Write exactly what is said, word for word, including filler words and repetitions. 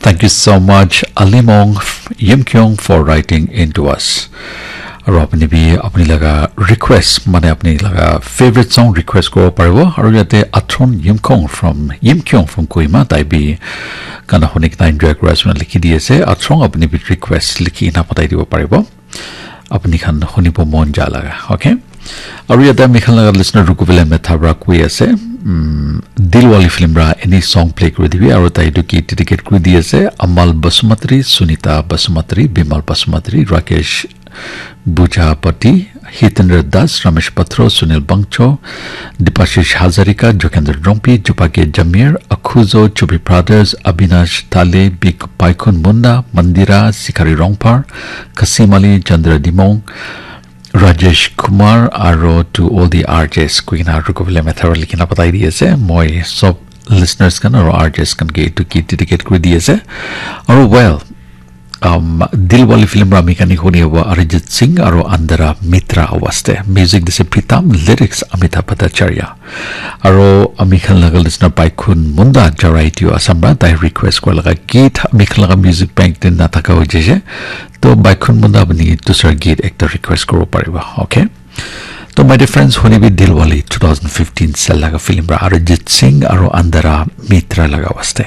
Thank you so much, Alimong Yimkyung, for writing in to us. Aru apni bi apni laga request, mane apni laga favorite song request koribo paribo. Aru yate Atron Yimkong from, Yimkyung from Kohima, tai bi gana huni kena enjoy kuri ase koina likhi di ase. Atron, apni bi request likhi kena pathai dibo paribo. Apni khan hunibo mon ja laga, okay? Aru yate ami khan laga listener Rukuvile Metha pra koi ase, mm, Dilwali film pra any song play kuri dibi, aru tai etu ki dedicate kuri di ase, Amal Basumatri, Sunita Basumatri, Bimal Basumatri, Rakesh Bujapati, Hitendra Das, Ramesh Patro, Sunil Bangcho, Dipashish Hazarika, Jokendra Drongpi, Jupake Jamir, Akhuzo, Chubi Brothers, Abinash Tale, Big Paikun Munda, Mandira, Sikari Rongpar, Kasim Ali, Chandra Dimong, Rajesh Kumar, aro to all the R Js, koi kena Rukuvile Metha pra likhi kena pathai di ase. Moi sob listeners khan aro R Js khan ke etu ki dedicate kuri di ase. Aro well, um, Dilwali film pra ami khan ke huni hobo Arijit Singh aro Andara Mitra awaz te. Music dise Pritam, lyrics Amitabh Bhattacharya. Aro ami khan laga listener Paikun Munda Jarai Tio Assam pra tai request kora laga git ami khan laga music bank te nathaka hoi jaise. To Baikun Munda apni dusra git ekta request koribo paribo, okay? To my dear friends, huni bi Dilwali two thousand fifteen sal laga film pra Arijit Singh aro Andara Mitra laga waste.